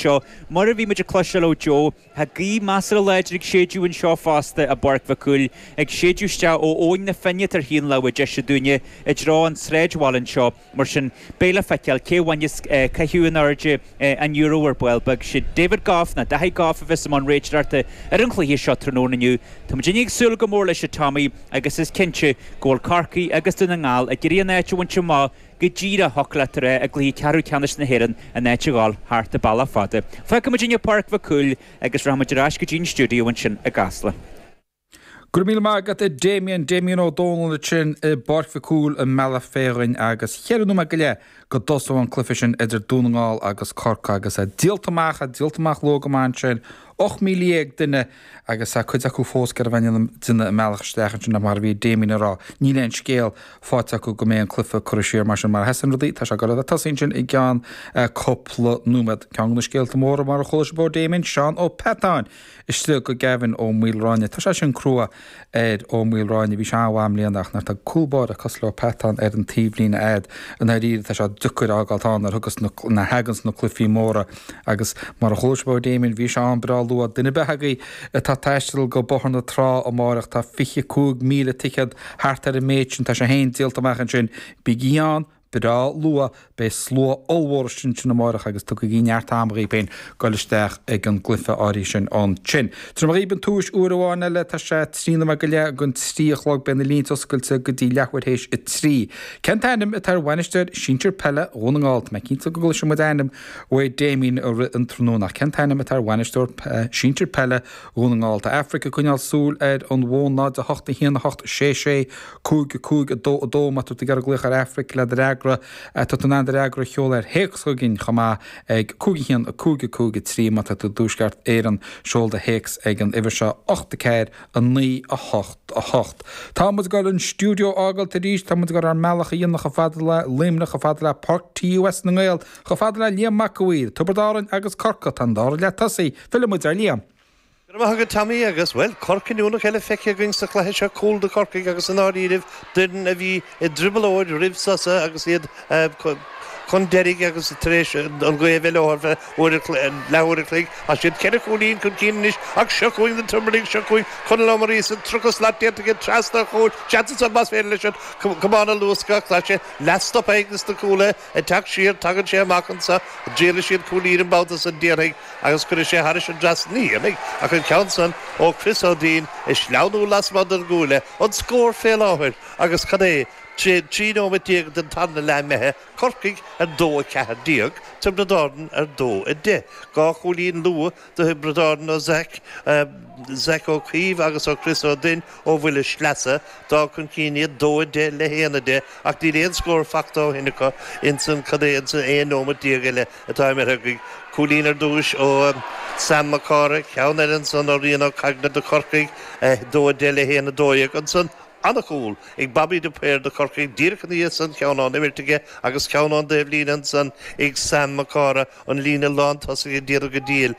seo. Mar a bhí muid ag cloisteáil ó Joe, tá gaoth measartha láidir ag séideadh anseo fosta i bPáirc Mhic Cumhaill, ag séideadh isteach ó Abhainn na Finne atá ar thaobh na láimhe deise dúinne i dtreo an tsráidbhaile anseo. Mar sin, beidh le feiceáil cé a bhainfeas caitheamh in airde an liathróid ar ball beag. Sé David Gough nó Daithí Gough a bheas i mbun réiteoireachta ar an chluiche seo tráthnóna inniu. Tá muid ag súil go mór leis a Tommy agus is cinnte go bhfuil Corcaigh agus Dún na nGall ag iarraidh an áit a bhaint amach go díreach, thiocfadh leat a rá, i gcluiche ceathrú ceannais na hÉireann, an áit a dhul thart an bealach fada. Fágfaidh muid inniu Páirc Mhic Cumhaill agus rachaidh muid ar ais go dtí an stiúideo ansin i gCasla. Go raibh míle maith agat a Damien, Damien Ó Dónaill ansin i bPáirc Mhic Cumhaill i mBealach Féich agus cheithre nóiméad go leith go dtosóidh an cluiche sin idir Dún na nGall agus Corcaigh agus é díolta amach, é díolta amach luath go maith ansin, 18,000 duine agus tá cuid acu fós ag iarraidh a bheith ag déanamh a mbealach isteach ansin ach mar a bhí Damien ag rá, níl aon scéal faighte acu go mbeidh an cluiche curtha siar mar sin mar a sheasann rudaí, tá sé ag dul a bheith tosaithe ansin i gceann cúpla nóiméad. Ceann de na scéalta móra mar a chuala sibh ó Damien, Seán Ó Peatáin Istigh do Gavin Ó Maoilráinne. Tá sé sin crua ar Ó Maoilráinne. Bhí sé an-mhaith i mbliana ach nuair atá cúl báire cosúil le Ó Peatáin ar an taobhlíne a'd, i ndáiríre tá sé deacair a fhágáilt ann nuair thugas na, nuair a thaganns na cluichí móra agus mar a chuala sibh ó Damien bhí sé ann breá luath. Duine ar bith agaibh atá ag taisteal go Bóthar na Trá amáireach tá 25,000 ticéad thart ar an méid sin, tá sé féin díolta amach ansin. Bígí ann! Breá luath, beidh slua ollmhór istigh ansin amáireach agus tugaigí neart ama dhaoibh féin goil isteach ag an gcluiche áirithe sin ansin. Tabharfaidh mé dhaoibh an tomhais uair amháin eile, tá sé 3 nóiméad go leith don 3 a chlog, beidh na línte oscailte go dtí leathuair théis a 3. Cén t-ainm atá ar bhainisteoir sinsir peile Dhún na nGall? Tá mé cinnte go gcloisfidh muid ainm uaidh Damien i rith an tráthnóna ach cén t-ainm atá ar bhainisteoir sinsir peile Dhún na nGall? Tá Aifric ag coinneáil súil ar an bhfón 0 8 1 8 6 6 5 5 2 2 Má tá tú ag iarraidh glaoch ar Aifric le do fhreagra, tá tú in ann do fhreagra a sheoladh ar théacs chugainn chomh maith ag 5 1 5 5 3 Má tá tú i dTuaisceart Éireann, seol do théacs ag an uimhir seo, 8 4 9 8 8. Tá muid ag dul an stiúideo a fhágáilt arís, tá muid ag dul ár mbealach a dhéanamh chomh fada le Luimneach, chomh fada le Páirc TUS na nGael, chomh fada le Liam Mac a' Mhaoir, Tiobraid Árann agus Corcaigh, tá an dara leath tosaithe, fillfidh muid ar Liam. Go raibh maith agat Tommy agus, bhuel, cor cinniúnach eile feicthe againn sa chluiche seo, cúl do Chorcaigh agus i ndáiríribh d'fhoireann a bhí i dtrioblóid roimh sosa agus iad chun deiridh agus tar éis an ghaoth a bheith leo ar feadh uair leathuair a chloig. Tá siad ceithre chúilín chun cinn anois ach seo chugainn na Tiobradaigh, seo chugainn Conall Ó Muiríosa, 30 slat déanta aige trasna an chúil, seans ansan más féidir leis an camán a luascadh ach tá sé leathstoptha ag na cúlaithe ag teacht siar, tagann sé amach anso, dtriailfidh siad cúl an babhta san déarfainn. agus cuirfidh sé thairis an dtrasnán, ní dhéanfaidh ach an ceann san ó Chris Ó Duinn ag sleamhnú lasmuigh den gcuaille, an scór fé láthair agus cad é, 13 nóimeat den tarna leath imithe, Corcaigh ar 2-14, Tiobraid Árann ar 2-10. Dhá chúilín luath do Thiobraid Árann ó Zach, Zach Ó Caoimh agus ó Chris Ó Duinn ó bhuille sleasa, d'fhág chun cinn iad 2-10 le 1-10 ach níl aon scór fachta ó shin acu ins an, cad é, ins an 11 nóimeat eile. atá imithe againn. Cúilín ar dtúis ó Sam Mac Cárthaigh, ceann eile ansan ó Rian Ó Caigne do Chorcaigh, 2-10 le 1-12. Ansan an-chúl ag Bobby de Paor do Chorcaigh, díreach ina dhiaidh san, ceann ón imirt aige agus ceann ón dtaobhlíne ansan ag Sam Mac Cárthaigh, an líne lántosaigh ag déanamh go diail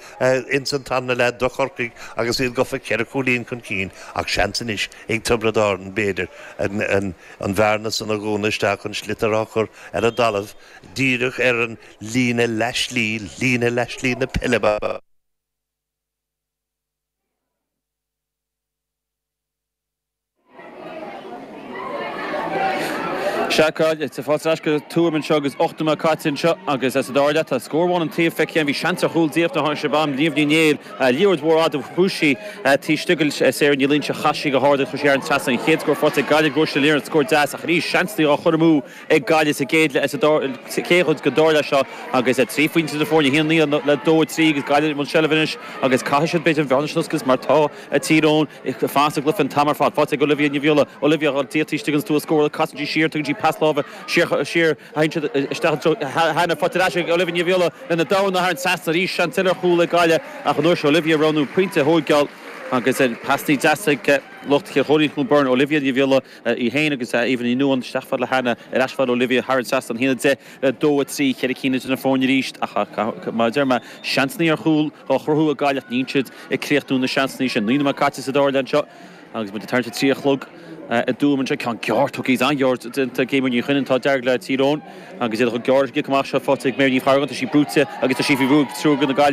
ins an tarna leath do Chorcaigh agus iad gafa ceithre chúilín chun cinn ach seans anois ag Tiobraid Árann, b'fhéidir, an bhearna san a dhúnadh isteach, an sliotar á chur ar an dtalamh. díreach ar an líne leathshlí, líne leathshlí na peile. Sea, tá fáilte ar ais go Tuaim anseo agus 8 nóiméad caite anseo agus sa dara leath tá scór amháin an taobh feicthe. Bhí seans ar chúl díreach nuair a tháinig sé bam Niamh Ní Néill, liathróid mhór fhada chuaigh sí taobh istigh de Sarah Ní Loingsigh chas sí go hard agus chuir sí thar an trasnán. An chéad scór faighte ag Gaillimh Róise Ní Liaráin, scór deas ach arís seansanna á chur amú ag Gaillimh sa gcéad leath, sa chéad chuid den dara leath seo agus 3 phointe idir na foirne, 1-9 le 2-3 agus Gaillimh i mbun seilbhe anois agus caithfidh siad b'fhéidir an bhearna sin a oscailt mar tá Tír Eoghain ag fanacht sa gcluiche an t-am ar fad. Faighte ag Olivia Ní Bhiolla, Olivia ag dul taobh istigh den stua scórála, casann sí siar, tugann sí pas láimhe siar, siar, théann siad isteach i dtreo Hannah, faighte ar ais ag Olivia Ní Bhiolla lena darna thar an trasnán arís, seans eile ar chúl ag Gaillimh ach an uair seo Olivia ag roghnú pointe a thóigeáil agus pasnaí deasa ag lucht Chill Chóilín Chluain Bheirn, Olivia Ní Bhiolla. Í féin agus Aoibhinn Ní Nuadháin isteach fad le Hannah, ar ais fad le Olivia thar an trasnán, 1-10 le 2-3, ceithre cinn idir na foirne arís ach mar a deir mé, seansanna ar chúl á chruthú ag Gaillimh ach níl siad ag críochnú na seansanna sin. 9 nóiméad caite sa dara leath anseo agus muid ag tarraingt a 3 a chlog i dTuaim anseo. Ceann gearr tugtha, an-ghearr déanta ag Eimear Ní Chuinn an t-ádh dearg le Tír Eoghain agus iad chomh gearr leis an gcic amach seo faighte ag Mary Ní Charráin. Tá sí brúite agus tá sí faoi bhrú ag triúr de na Gaillimh.